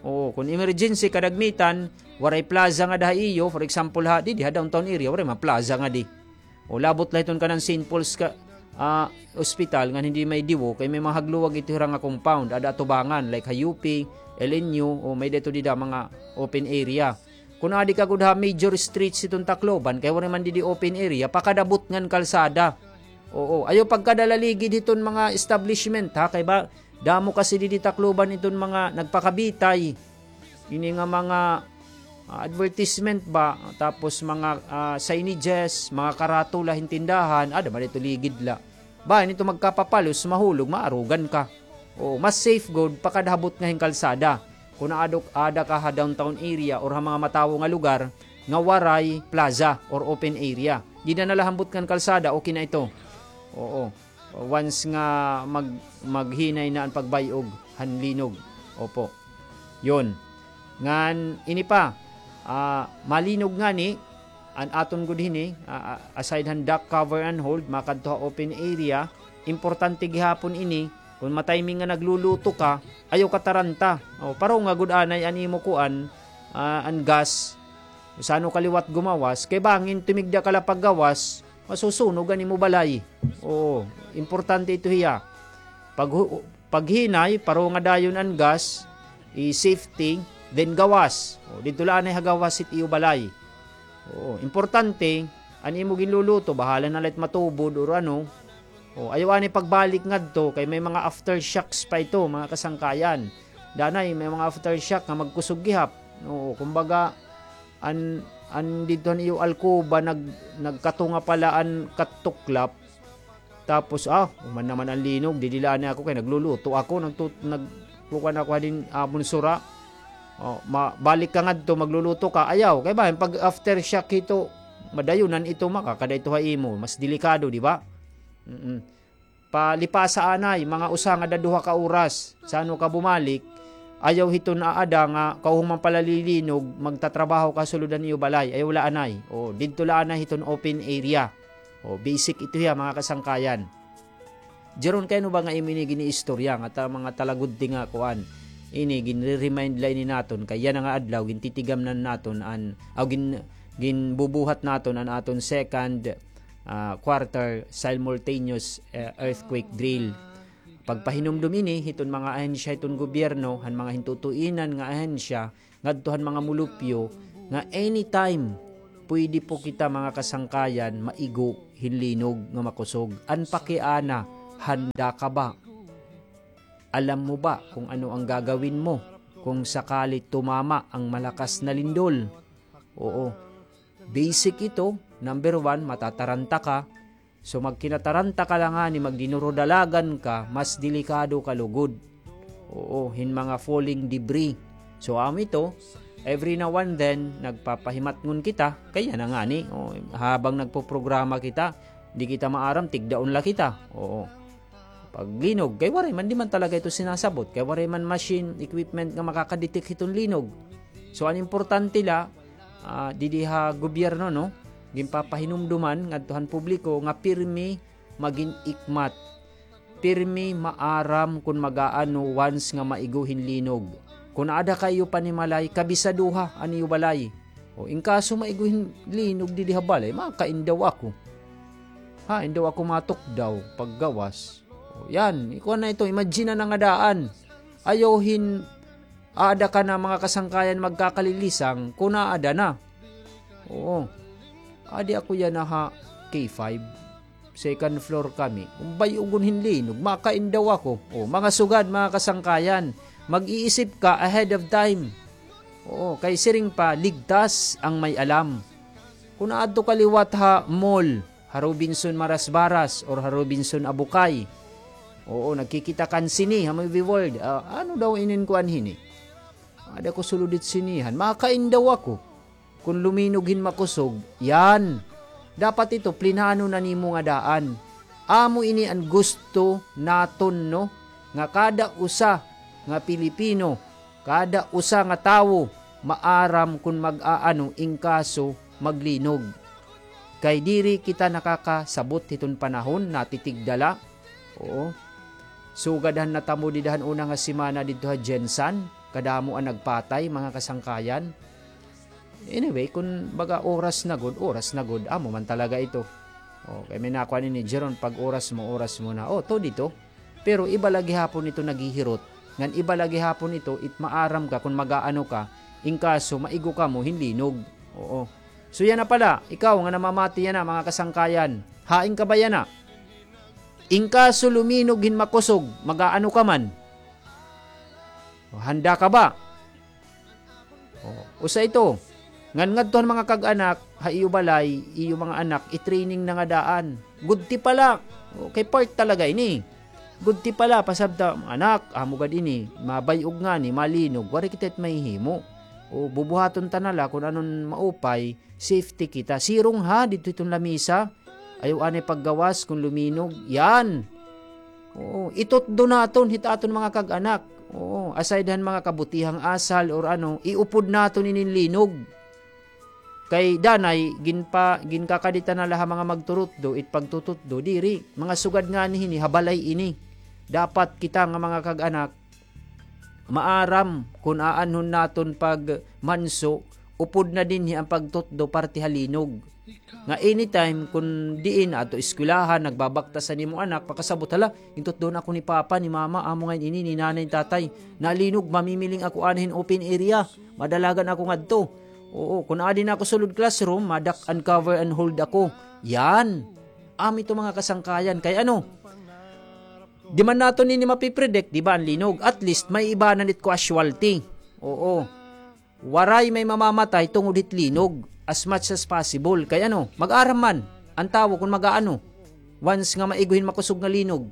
Oo, kon emergency, kadagmitan, waray plaza ngada ha iyo, for example, ha, didi ha downtown area, waray man plaza ngadi. O, labot la hiton kanan Saint Paul's ka, ah, Hospital, ngan hindi may diwo, kay may mga hagluwag ito hira nga compound, ada atubangan, like ha U P, L N U, o may-ada ito dida mga open area. Kon adi ka gud ha major streets hiton Tacloban, kay waray man didi open area, pakadabot ngan kalsada. Oo, ayaw pagkada la ligid hiton mga establishment, ha, kay ba, damo kasi didi Tacloban iton mga nagpakabitay. Ini nga mga, ah, advertisement ba, tapos mga, ah, signages, mga karatula hin tindahan, ada man ito ligid la. Bangin ito magkapapalos, mahulog, maarugan ka. Oo, mas safe gud pakada ha butnga hin kalsada. Kon aadto, ada ka ha downtown area or ha mga matawo nga lugar nga waray plaza or open area. Dida na la ha butnga hin kalsada, okay na ito. Oo. Once nga mag-, maghinay na an pagbay-og han linog. Opo. Yon. Ngan ini pa, ah, malinog ngani, an aton gud hini, ah, ah, aside han duck cover and hold, makadto ha open area, importante gihapon ini, kon matiming nga nagluluto ka, ayaw ka taranta. O, pareho nga gud anay an imo kuan, ah, an gas, sano ka liwat gumawas, kay bangin tumigda ka la paggawas, masusunog an imo balay. Oo, importante ito hiya. Pag hu-, paghinay, pareho nga dayon an gas, i-safety, then gawas. O, didto la anay ha gawas hit iyo balay. Oo, importante, an imo ginluluto, bahala na la it matubod or ano. O, ayaw anay pagbalik ngadto, kay may mga aftershocks pa ito, mga kasangkayan. Danay, may mga aftershock nga magkusog gihap. Oo, kumbaga, an, an didto han iyo alkoba, nag-, nagkatunga pala an katuklap. Tapos, ah, human naman an linog, didi la anay ako kay nagluluto ako, nagtu-, nag-, kuan ako hadin amon sura. O, ma-, balik ka ngadto, magluluto ka, ayaw. Kay ba, pag aftershock hito, madayonan ito, makakada ito ha imo, mas delikado, di ba? Mm-mm. Palipasa anay, mga usa ngada duha ka oras. Sano ka bumalik, ayaw hiton aada nga kauhuman pala lilinog, magtatrabaho ka sulod han iyo balay. Ayaw la anay. O, didto la anay hiton open area. O, basic ito hiya, mga kasangkayan. Jeron, kay ano ba nga imo ini giniistorya nga ta-, mga talagudti nga kuan? Ini, ginre-remind la ini naton. Kay yana nga adlaw, gintitigamnan naton an, aw, gin-, ginbubuhat naton an aton second ah, quarter simultaneous, eh, earthquake drill. Pagpahinumdom ini hiton mga ahensya hiton gobyerno, han mga hintutuinan nga ahensya, ngadto han mga mulupyo, nga anytime pwede po kita, mga kasangkayan, maigo hin linog nga makusog. An pakiana, handa ka ba? Alam mo ba kung ano ang gagawin mo kung sakali tumama ang malakas na lindol? Oo. Basic ito. Number one, matataranta ka. So, magkinataranta ka la ngani, magdinurudalagan ka, mas delikado ka lugod. Oo, hin mga falling debris. So, amo ito, every now and then, nagpapahimatngon kita, kay yana ngani, o, habang nagpoprograma kita, di kita maaram, tigdaon la kita. Oo. Paglinog, kay waray man, di man talaga ito sinasabot, kay waray man machine, equipment nga makakadetect hiton linog. So, an importante la, ah, didi ha gobyerno, no, ginpapahinumduman ngadto han publiko nga pirmi magin-ikmat, pirmi maaram kon mag-aano once nga maigo hin linog. Kon aada ka ha iyo panimalay, kabisaduha an iyo balay. O, in kaso maigo hin linog didi ha balay, makain daw ako. Ha, in daw ako matukdaw paggawas. O, yan, ikuan na ito, imagine na nga daan. Ayaw hin aada ka na, mga kasangkayan, magkakalilisang kon aada na. Oo. Adi ako yana ha K five. Second floor kami. Kon bay-ugon hin linog, makain daw ako. O, mga sugad, mga kasangkayan, mag-iisip ka ahead of time. Oo, kay siring pa, ligtas ang may alam. Kon aadto ka liwat ha mall, ha Robinson Marasbaras or ha Robinson Abukay. Oo, nagkikita kan sini ha Movie World. Ah, ano daw inin kuan hini? Aada ko sulod hit sinihan. Makain daw ako. Kon luminog hin makusog, yan. Dapat ito, plinano na nimo nga daan. Amo ini an gusto naton, no? Nga kada usa nga Pilipino, kada usa nga tawo, maaram kon mag-aano in kaso maglinog. Kay diri kita nakakasabot hiton panahon, natitigda la. Oo. Sugad han natabo dida han una nga semana didto ha GenSan, kadamo an nagpatay, mga kasangkayan. Anyway, kon baga oras na gud, oras na gud, amo man talaga ito. O, kay may nakuan ini, Jeron, pag oras mo, oras mo na. O, to dito. Pero iba la gihapon ito naghihirot. Ngan iba la gihapon ito, it maaram ka kon mag-aano ka, in kaso maigo kamo hin linog. Oo. So, yana pala, ikaw nga namamati yana, mga kasangkayan, hain ka ba yana? In kaso luminog hin makusog, mag-aano ka man? O, handa ka ba? O, usa ito. Ngan ngadto han mga kag-anak, ha iyo balay, iyo mga anak, i-training na nga daan. Gudti pa la. O, kay part talaga ini. Gudti pa la, pasabta, anak, amo gad ini, mabay-og ngani, malinog, waray kita it mahihimo. O, bubuhaton ta na la kon anon maupay, safety kita. Sirong ha, didto hiton lamisa. Ayaw anay paggawas kon luminog. Yan. Oo, itutdo naton hit aton mga kag-anak. Oo, aside han mga kabutihang asal or ano, iupod naton inin linog. Kay danay, ginpa-, ginkakadita na la ha mga magturutdo, it pagtututdo, diri, mga sugad ngani hini, ha balay ini. Dapat kita nga mga kag-anak, maaram kon aanhon naton pagmanso, upod na dinhi an pagtutdo parte ha linog. Nga anytime, kon diin, adto eskwelahan, nagbabaktas an imo anak, pakasabot, "Hala, gintutdon ako ni Papa, ni Mama, amo ngay-an ini, ni Nanay, ni Tatay. Nalinog, mamimiling ako anay hin open area. Madalagan ako ngadto. Oo, kon adi na ako sulod classroom, ma-duck and cover and hold ako." Yan. Amo ito mga kasangkayan. Kay ano, di man naton ini mapipredict, di ba, an linog? At least, may ibanan it casualty. Oo. Waray may mamamatay tungod hit linog as much as possible. Kay ano, mag-aram man an tawo kon mag-aano once nga maigo hin makusog nga linog.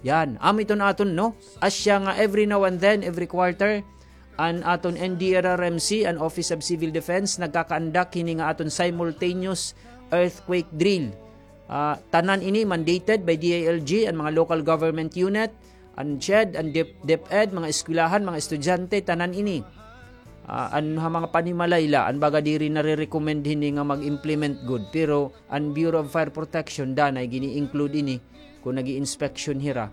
Yan, amo iton aton, no? Asya nga every now and then, every quarter, an aton N D R R M C, an Office of Civil Defense, nagkakaandak hini nga aton simultaneous earthquake drill. Ah, tanan ini mandated by D I L G, an mga local government unit, an CHED, an Dep-, DepEd, mga eskwelahan, mga estudyante, tanan ini. Ah, an ha mga panimalay la, an baga diri nare-recommend hini nga mag-implement gud, pero an Bureau of Fire Protection danay gini-include ini kon nag-i-inspection hira.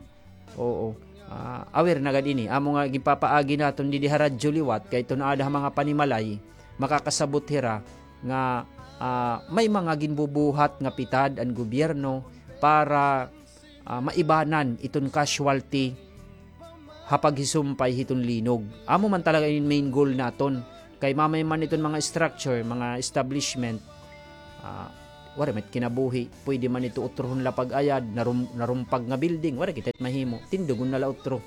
Oo. Ah, aware na gad ini. Amo nga ginpapaagi naton didi ha radyo liwat, kay tun-ad ha mga panimalay, makakasabot hira nga, ah, may mga ginbubuhat nga pitad an gobyerno para, ah, maibanan iton casualty ha paghisumpay hiton linog. Amo man talaga in main goal naton. Kay mamay man iton mga structure, mga establishment, Ah, waray man it kinabuhi, pwede man ito utrohon la pag-ayad, narum-, narumpag nga building, waray kita it mahimo, tindugon na la utro.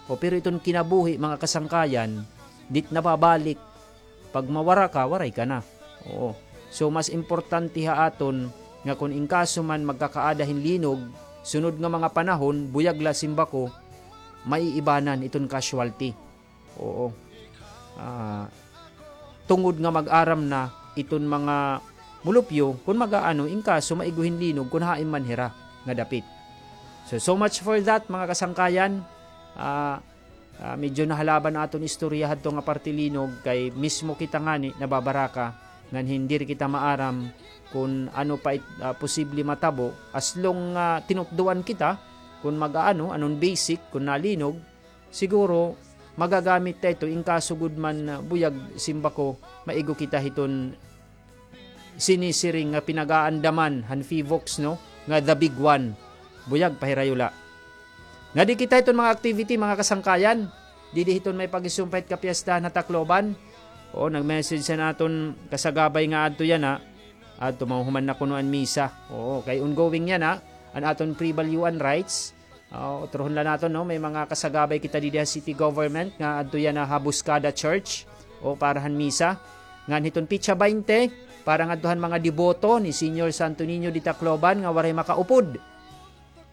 O, pero iton kinabuhi, mga kasangkayan, di it nababalik. Pag mawara ka, waray ka na. Oo. So, mas importante ha aton nga kon in kaso man magkakaada hin linog, sunod nga mga panahon, buyag la, simba ko, maiibanan iton casualty. Oo. Ah, tungod nga mag-aram na iton mga mulupyo, kon mag-aano, in kaso maigo hin linog, kon hain man hira nga dapit. So, so much for that, mga kasangkayan. Ah, ah, medyo nahalaban aton istorya hadto nga parte linog, kay mismo kita ngani nababaraka, ngan hin diri kita maaram kon ano pa it, ah, posible matabo. As long nga tinutdoan kita, kon mag-aano, anon basic, kon nalinog, siguro, magagamit ta ito, in kaso gud man, ah, buyag, simba ko, maigo kita hiton sinisiring nga pinag-aandaman han Fivox, no, nga the big one. Buyag, pahirayo la. Ngadi kita hiton mga activity, mga kasangkayan. Didi hiton may paghisumpay hit kapiyastahan ha Tacloban. Oo, nag-message an aton kasagabay nga adto yana. Adto, mahuhuman na kuno an misa. Oo, kay ongoing yana, an aton pre-balyuan rites. Ah, utrohon la naton, no? May mga kasagabay kita didi ha city government nga adto yana ha Buscada Church, o, para han misa. Ngan hiton petsa baynte, para ngadto han mga deboto ni Señor Santo Niño de Tacloban nga waray makaupod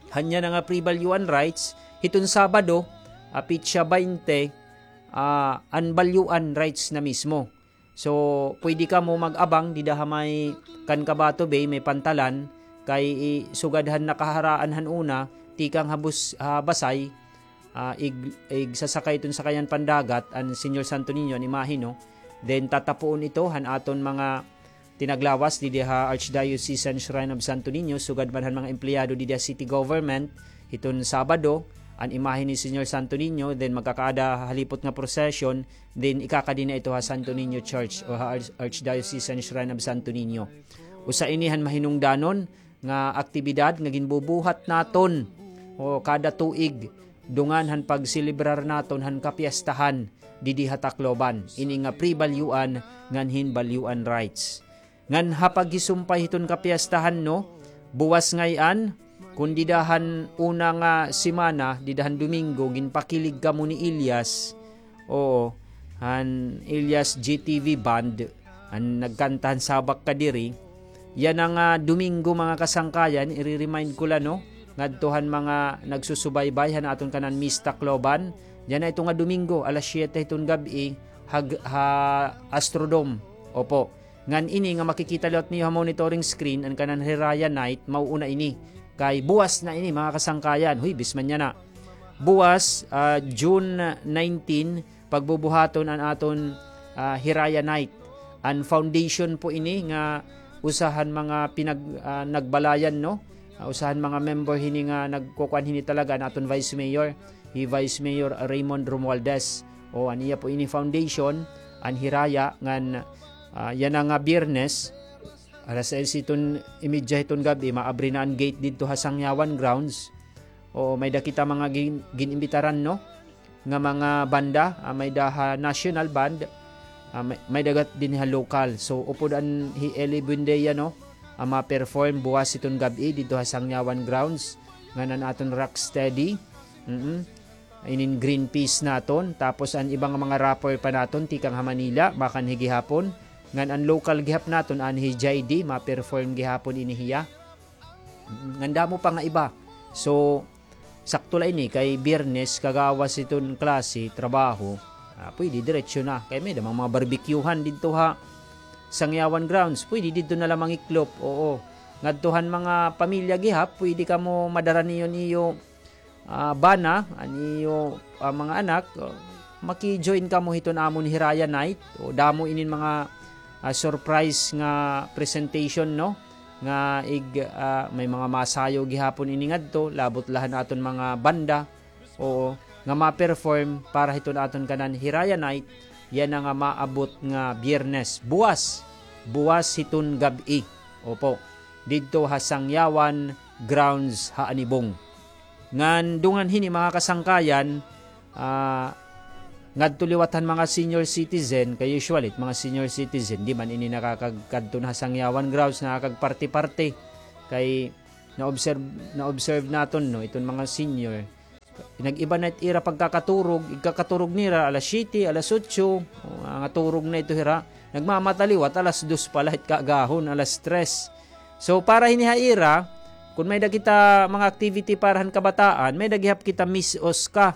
han yana nga pre-balyuan rites, hiton Sabado, ah, petsa baynte, ah, an balyuan rites na mismo. So, pwede kamo mag-abang dida ha may kan Kabato Bay, may pantalan, kay i-, sugad han nakaharaan han una, tikang ha bus-, ha Basay, ah, ig-, igsasakay iton sakayan pandagat, an Señor Santo Niño, an imahe, no? Then, tatapuon ito han aton mga tinaglawas didi ha Archdiocesan Shrine of Santo Niño, sugad man han mga empleyado didi ha city government, hiton Sabado, an imahe ni Señor Santo Niño, then magkakaada halipot nga procession, then ikakadi na ito ha Santo Niño Church o ha Arch-, Archdiocesan Shrine of Santo Niño. Usa ini han mahinungdanon nga aktibidad nga ginbubuhat naton, o, kada tuig, dungan han pagselebrar naton han kapiyastahan didi ha Tacloban, ini nga pre-balyuan ngan hin balyuan rites. Ngan ha paghisumpay hiton kapiyastahan, no, buwas ngay-an, kon dida han una nga semana, dida han Domingo, ginpakilig kamo ni Elias, oo, han Elias G T V Band, an nagkanta han Sabak Kadiri. Yana nga Domingo, mga kasangkayan, ire-remind ko la, no, ngadto han mga nagsusubaybay han aton kanan Miss Tacloban. Yana ito nga Domingo, alas siyete hiton gab-i, ha, ha Astrodome. Opo. Ngan ini nga makikita liwat niyo ha monitoring screen, an kanan Hiraya Night, mauuna ini. Kay buwas na ini, mga kasangkayan. Huwebes man yana. Buwas, ah, June nineteen, pagbubuhaton an aton, ah, Hiraya Night. An foundation po ini nga usa han mga pinag-, ah, nagbalayan, no? Ah, usa han mga member hini nga nagkukuan hini talaga, an aton Vice Mayor, hi Vice Mayor Raymond Romualdez. O, an iya po ini foundation, an Hiraya, ngan, ah, yana nga Biyernes, alas sais hiton imedya hiton gab-i, maabri na an gate didto ha Sangyawan Grounds. Oo, may-ada kita mga gin-, gin-imbitaran, no, nga mga banda, ah, may-ada ha national band, ah, may-, may-ada gad dinhi ha local. So, upod an hi Eli Buendia, no, ah, ma-perform buwas hiton gab-i didto ha Sangyawan Grounds, ngan an aton Rocksteady. Mm-mm. Inin Greenpeace naton, tapos an iba nga mga rapper pa naton tikang ha Manila, makanhi gihapon. Ngan an local gihap naton, anhi hi J D, ma-perform gihapon ini hiya. Ngan damo pa nga iba. So, sakto la ini kay Biyernes, kagawas hiton klase, trabaho. Ah, pwede diretso na. Kay may-ada man mga barbecuehan didto ha Sangyawan Grounds. Pwede didto na la mangiklop. Oo. Ngadto han mga pamilya gihap, pwede kamo madara niyo an iyo ah, bana, an iyo, ah, mga anak, oh, maki-join kamo hiton amon Hiraya Night. O, damo inin mga, ah, surprise nga presentation, no? Nga ig-, ah, may mga masayaw gihapon ini ngadto, labot la han aton mga banda. Oo, nga ma-perform para hiton aton kanan Hiraya Night, yana nga maabot nga Biyernes. Buwas, buwas hiton gab-i. Opo, didto ha Sangyawan Grounds ha Anibong. Ngan dungan hini, mga kasangkayan, ah, ngadto liwat han mga senior citizen, kay usually, mga senior citizen, di man ini nakakagkadto na ha sangyawan grounds, nakakagparty-party. Kay na-observe, na-observe naton, no, iton mga senior, nag-iba na it ira pagkakaturog, igkakaturog nira, alas siyete, alas otso, o, nga turog na ito hira. Nagmamata liwat, alas dos pa la it kaagahon, alas tres. So, para hini ha ira, kun may-ada kita mga activity para han kabataan, may-ada gihap kita Miss Osca.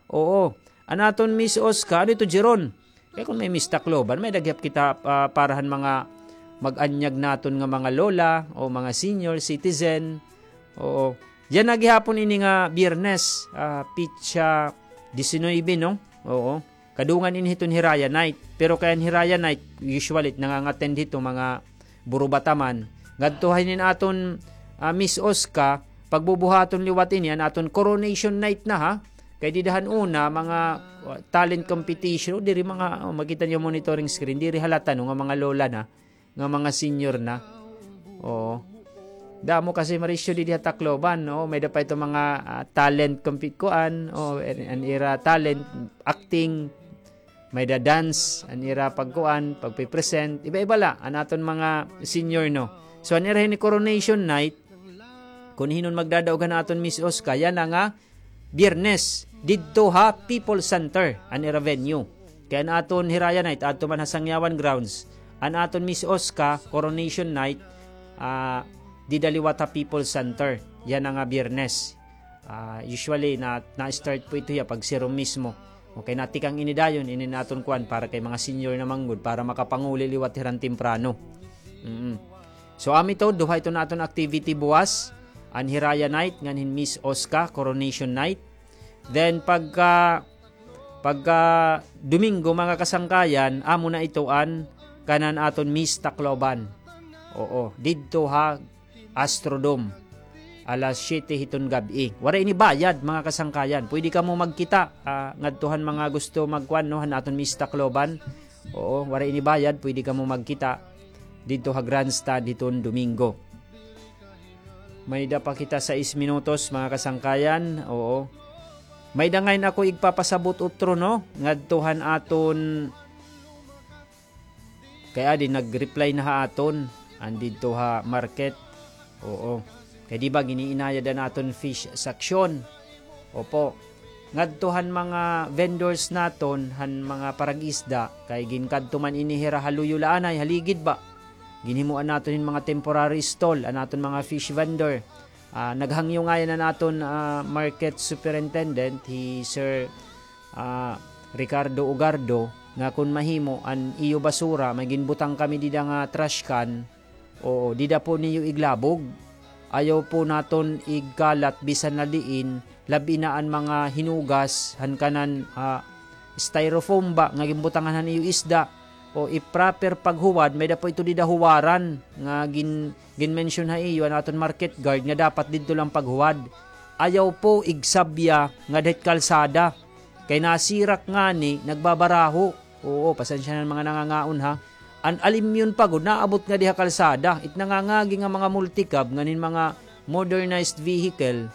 Oo. An aton Miss Osca, ano ito, Jeron? Kay kun may Miss Tacloban, may-ada gihap kita, ah, para han mga mag-anyag naton nga mga lola o mga senior citizen. Oo. Yana gihapon ini nga Biyernes, ah, pitsa disinuybe, no? Oo. Kadungan ini hiton Hiraya Night. Pero kay an Hiraya Night, usually, nangangattend hito mga burubata man. Ngadto ha hinin aton, ah, Miss Osca, pagbubuhaton liwat ini, an aton coronation night na, ha. Kay dida han una, mga, uh, talent competition, o diri mga, oh, makita niyo monitoring screen, diri halata, no, nga mga lola na, nga mga senior na. Oo. Damo kasi, Marisyo, didi ha Tacloban, no? May-ada pa ito mga, ah, talent compete kuan, o, an, an ira talent, acting, may-ada dance, an ira pagkuan, pagpe-present, iba-iba la, an aton mga senior, no? So, an ira hini coronation night, kun hin-o an magdadaog han aton Miss Osca, yana nga Biyernes, didto ha People's Center, an ira venue. Kay an aton Hiraya Night, adto man ha Sangyawan Grounds. An aton Miss Osca, Coronation Night, ah, dida liwat ha People's Center. Yana nga Biyernes. Ah, usually, na, na-start po ito hiya pag serum mismo. Okay, natikang ini dayon, ini naton kuan para kay mga senior na man gud, para makapanguli liwat hira han temprano. Mm. So, amo ito, duha ito naton activity buwas. An Hiraya Night, ngan hin Miss Osca, Coronation Night. Then, pagka, pagka Domingo, mga kasangkayan, amo na ito an kanan aton Miss Tacloban. Oo, didto ha Astrodome. Alas siyete hiton gab-i. Waray ini bayad, mga kasangkayan. Pwede kamo magkita, ah, ngadto han mga gusto magkuan, no, han aton Miss Tacloban. Oo, waray ini bayad, pwede kamo magkita didto ha grandstand hiton Domingo. May-ada pa kita sais minutos, mga kasangkayan. Oo. May-ada ngay-an ako igpapasabot utro, no? Ngadto han aton Kay adi, nag-reply na ha aton, an didto ha market. Oo. Kay di ba, gin-iinayad an aton fish section. Opo. Ngadto han mga vendors naton, han mga parag-isda, kay ginkadto man ini hira ha luyo la anay, ha ligid ba. Ginhimoan naton hin mga temporary stall, an aton mga fish vendor. Ah, naghangyo ngay-an an aton, ah, market superintendent, hi Sir, ah, Ricardo Ugardo, nga kon mahimo, an iyo basura, may ginbutang kami dida nga trash can, oo, dida po niyo iglabog. Ayaw po naton igkalat bisan na diin, labi na an mga hinugas, han kanan, ah, styrofoam ba, nga ginbutangan han iyo isda, o i-proper paghuwad, may-ada po ito dida huwaran, nga gin-, gin-mention ha iyo, an aton market guard, nga dapat didto lang paghuwad. Ayaw po igsabya ngada hit kalsada. Kay nasirak ngani, nagbabaraho. Oo, pasensya na mga nangangaon, ha. An alimyon pa gud, naabot ngadi ha kalsada. It nangangagi nga mga multicab, ngan hin mga modernized vehicle,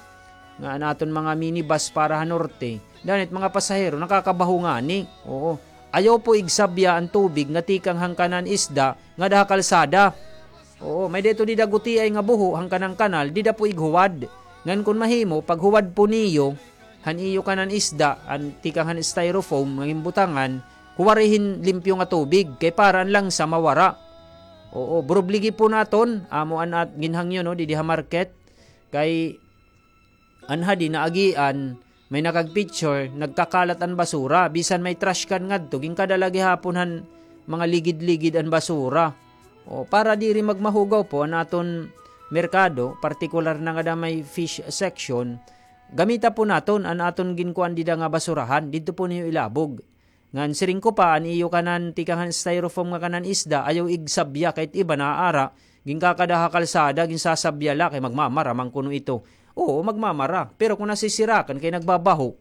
nga an aton mga minibus para ha norte. Danit mga pasahero, nakakabaho ngani. Oo. Ayaw po igsabya an tubig nga tikang han kanan isda ngada ha kalsada. Oo, may-ada ito dida gutiay nga buho han kanan kanal, dida po ighuwad. Ngan kon mahimo, paghuwad po niyo, han iyo kanan isda, an tikang han styrofoam nga ginbutangan, huwari hin limpyo nga tubig, kay para an langsa mawara. Oo, burubligi po naton, amo an at-, ginhangyo, no, didi ha market, kay an hadi naagian, may nakag-picture, nagkakalat an basura, bisan may trash can ngadto, ginkadala gihapon han mga ligid-ligid an basura. O, para diri magmahugaw po an aton merkado, partikular na ngada may fish section, gamita po naton an aton ginkuan dida nga basurahan, didto po niyo ilabog. Ngan siring ko pa, an iyo kanan tikang han styrofoam nga kanan isda, ayaw igsabya, kay it iba naaara, ginkakada ha kalsada, ginsasabya la, kay magmamara man kuno ito. Oo, magmamara. Pero kon nasisirakan, kay nagbabaho.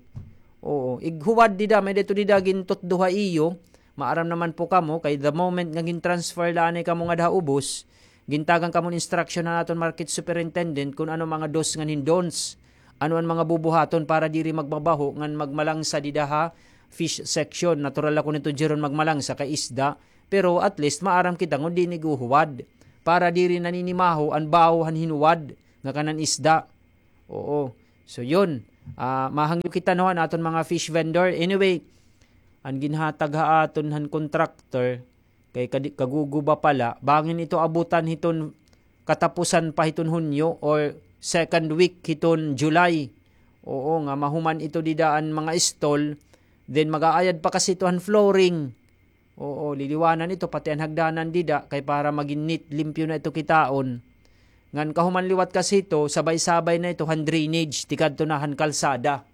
Oo, ighuwad dida, may-ada ito dida gintutdo ha iyo, maaram naman po kamo, kay the moment nga gin-transfer la anay kamo ngada ha ubos, gintagan kamo hin instruction han aton market superintendent kon ano mga do's ngan hin don'ts, ano an mga bubuhaton para diri magmabaho ngan magmalangsa dida ha, fish section. Natural ako nito, Jeron, magmalangsa kay isda. Pero at least maaram kita ngon diin iguhuwad. Para diri naninimaho an baho han hinuwad nga kanan isda. Oo. So yun. Ah, mahangyo kita, no, an aton mga fish vendor. Anyway, an ginhatag ha aton han contractor, kay kadi-, kaguguba pa la, bangin ito abutan hiton katapusan pa hiton Hunyo or second week hiton July. Oo, nga mahuman ito dida an mga stall, then mag-aayad pa kasi ito han flooring. Oo, liliwanan ito, pati an hagdanan dida, kay para magin neat, limpyo na ito kitaon. Ngan kahuman liwat kasi ito, sabay-sabay na ito han drainage, tikadto na han kalsada.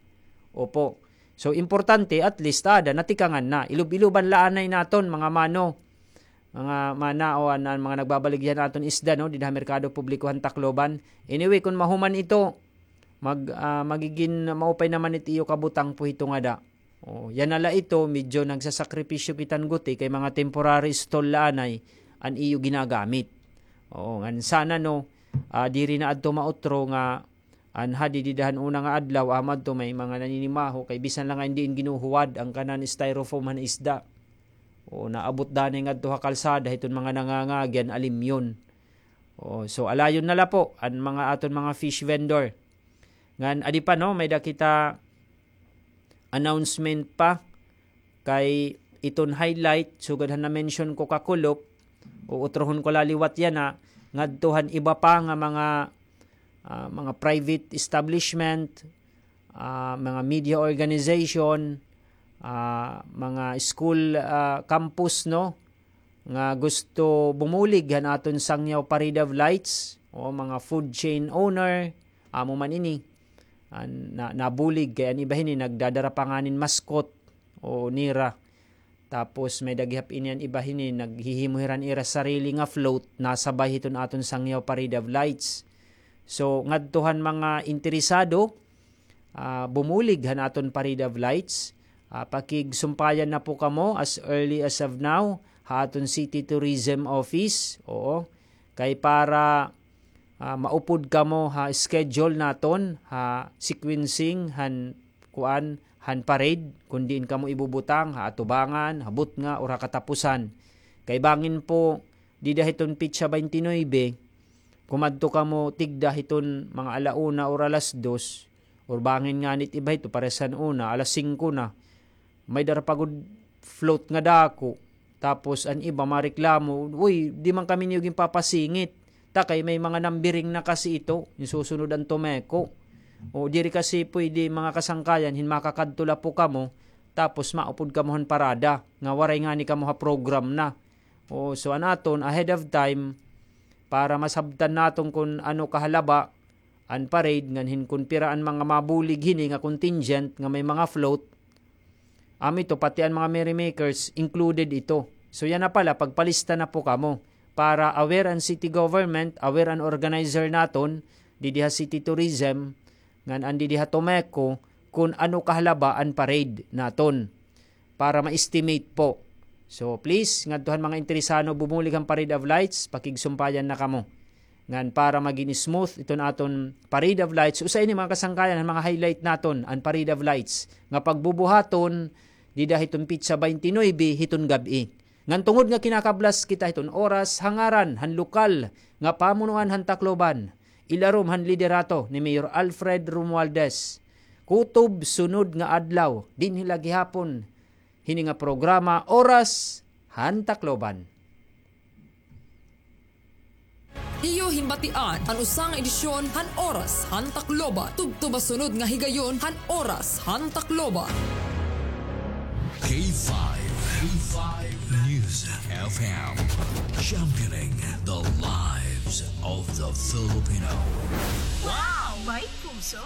Opo. So, importante, at least, ada, natikangan na. Ilub-iluban la anay naton, mga mano. Mga mana o an, an mga nagbabaligya han aton isda, no, dida ha merkado publiko han Tacloban. Anyway, kun mahuman ito, mag-, ah, magigin maupay naman it iyo kabutang po hito ngada. O, yana la ito, medyo nagsasakripisyo kita han guti kay mga temporary stall la anay an iyo ginagamit. Oo, ngan sana, no, ah, diri na adto mautro nga an hadi dida han una nga adlaw, amo adto may mga naninimaho, kay bisan la nga indi in ginuhuwad an kanan styrofoam han isda. O, naabot danay ngadto ha kalsada hiton mga nangangagi han alimyon. O, so alayon na la po an mga aton mga fish vendor. Ngan adi pa, no, may-ada kita announcement pa kay iton highlight, sugad han na-mention ko kakulop, o utrohon ko la liwat yana, ngadto han iba pa nga mga, ah, mga private establishment, ah, mga media organization, ah, mga school, ah, campus, no, nga gusto bumulig han aton Sangyaw Parade of Lights, o mga food chain owner, amo man ini. Ah, na-, nabulig kay an iba hini nagdadara pa nganin mascot, o nira. Tapos may-ada gihap ini an iba hini naghihimo hira han ira sarili nga float, nasabay hiton aton Sangyaw Parade of Lights. So, ngadto han mga interesado, ah, bumulig han aton Parade of Lights, ah, pakigsumpayan na po kamo as early as of now ha aton City Tourism Office. Oo. Kay para, ah, maupod kamo ha schedule naton, ha sequencing han kuan, han parade, kun diin kamo ibubutang, ha atubangan, ha butnga, or ha katapusan. Kay bangin po, dida hiton petsa twenty-nine, kumadto kamo tigda hiton mga ala una or alas dos, or bangin ngani it iba hito, pares han una, alas singko na. May dara pa gud float nga dako. Tapos an iba mareklamo, "Uy, di man kami niyo ginpapasingit. Ta kay may mga numbering na kasi ito, yung susunod an Tomeco. O, diri kasi pwede, mga kasangkayan, hin makakadto la po kamo, tapos maupod kamo han parada, nga waray ngani kamo ha program na." O, so an aton, ahead of time, para masabtan naton kun ano kahalaba an parade, ngan hin kun pira an mga mabulig hini nga contingent nga may mga float. Amo ito, pati an mga merrymakers, included ito. So, yana pala, pagpalista na po kamo para aware an city government, aware an organizer naton, didi ha City Tourism, ngan an didi ha Tomeco, kun ano kahalaba an parade naton. Para ma-estimate po. So, please, ngadto han mga interesado bumulig han Parade of Lights, pakigsumpayan na kamo. Ngan para magin smooth iton aton Parade of Lights, usa ini, mga kasangkayan, han mga highlight naton, an Parade of Lights, nga pagbubuhaton dida hiton petsa twenty-nine hiton gab-i. Ngan tungod nga kinakablas kita hiton oras, ha ngaran han lokal nga pamunuan han Tacloban, ilarom han liderato ni Mayor Alfred Romualdez, kutob sunod nga adlaw, dinhi la gihapon hini nga programa, Oras han Tacloban. Iyo hinbatian an usa nga edisyon han Oras han Tacloban. Tubtob ha sunod nga higayon han Oras han Tacloban. K five, K five News F M, championing the lives of the Filipino. Wow! May puso!